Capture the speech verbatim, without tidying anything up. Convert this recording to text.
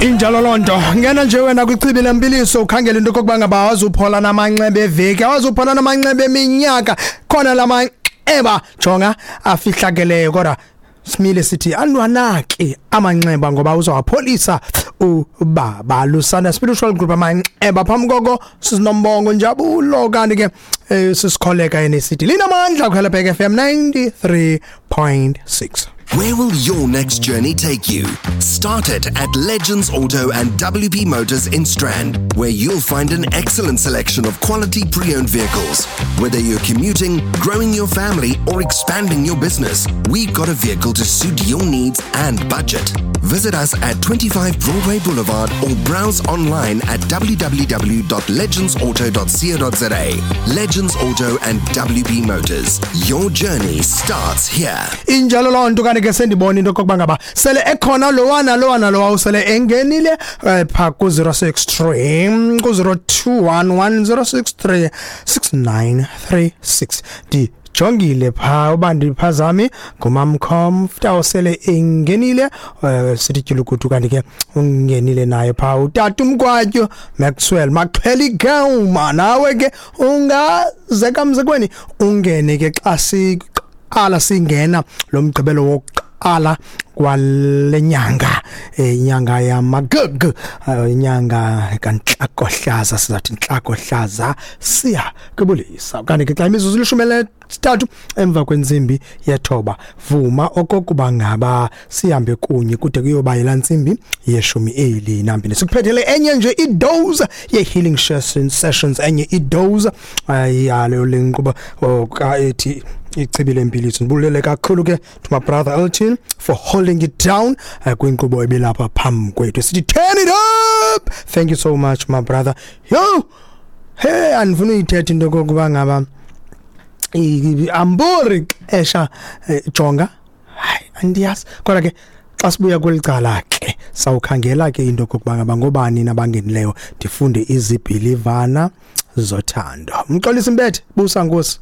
Injalo loo nto. Ngena nje wena kwichibi lempiliso, ukhangela into okokuba ngaba awazuphola namanxeba eveki, awazuphola namanxeba eminyaka. Khona la manxeba, jonga, afihlakeleyo, kodwa simile sithi anwanaki amanxeba ngoba uzawapholisa ubaba. Lusanda Spiritual Group, amanxeba. Phambi koko sisinombongo Njabulo, kanti ke eh, sisikholeka yena sithi linamandla kuHelebhek F M ninety-three point six. Where will your next journey take you? Start it at Legends Auto and W P Motors in Strand, where you'll find an excellent selection of quality pre owned vehicles. Whether you're commuting, growing your family, or expanding your business, we've got a vehicle to suit your needs and budget. Visit us at twenty-five Broadway Boulevard or browse online at w w w dot legendsauto dot co dot za. Legends Auto and W P Motors. Your journey starts here. Injalo loo nto. Kanti ke sendibona into okokuba ngaba sele ekhona lowana lowana lowa usele engenile eh, pha ku-zero six three, ku-zero two one one zero six three six nine three six. Ndijongile phaa uba ndiphazami, ngumamkhomfta osele engenile, eh, sithi tyulukutu. Kanti ke ungenile naye phaa utata umkwatyo Maxwell Maxheli Gama. Nawe ke ungazeka mzekweni, ungene ke xa siqala singena lo mgqibelo wokuqala kwale nyanga, eh, inyanga yamagg, eh, inyanga kaNtlakohlaza. Sizathi Ntlakohlaza siya kubulisa. Kanti ke xa imizuzu ilishumi elinesithathu emva kwentsimbi yethoba, vuma okokuba ngaba sihambe kunye kude kuyoba yilaa ntsimbi yeshumi elinambini. Sikuphethele enye nje idose ye-healing sessions, enye idose yalo le nkqubo ethi Ichibi Lempiliso. Ndibulele kakhulu ke to my brother Elton for holding it down uh, kwinkqubo ebelapha phambi kwethu sithi Turn It Up. Thank you so much, my brother. Yo, hey, andifuna uyithetha into kokuba ngaba ambori xesha, eh, jonga, hayi, andiyazi. Kodwa ke xa sibuya kweli cala ke sawukhangela ke into kokuba ngaba ngobani nabangenileyo, ndifunde izibhilivana zothando. Mxolisi Mbethe, busa nkosi.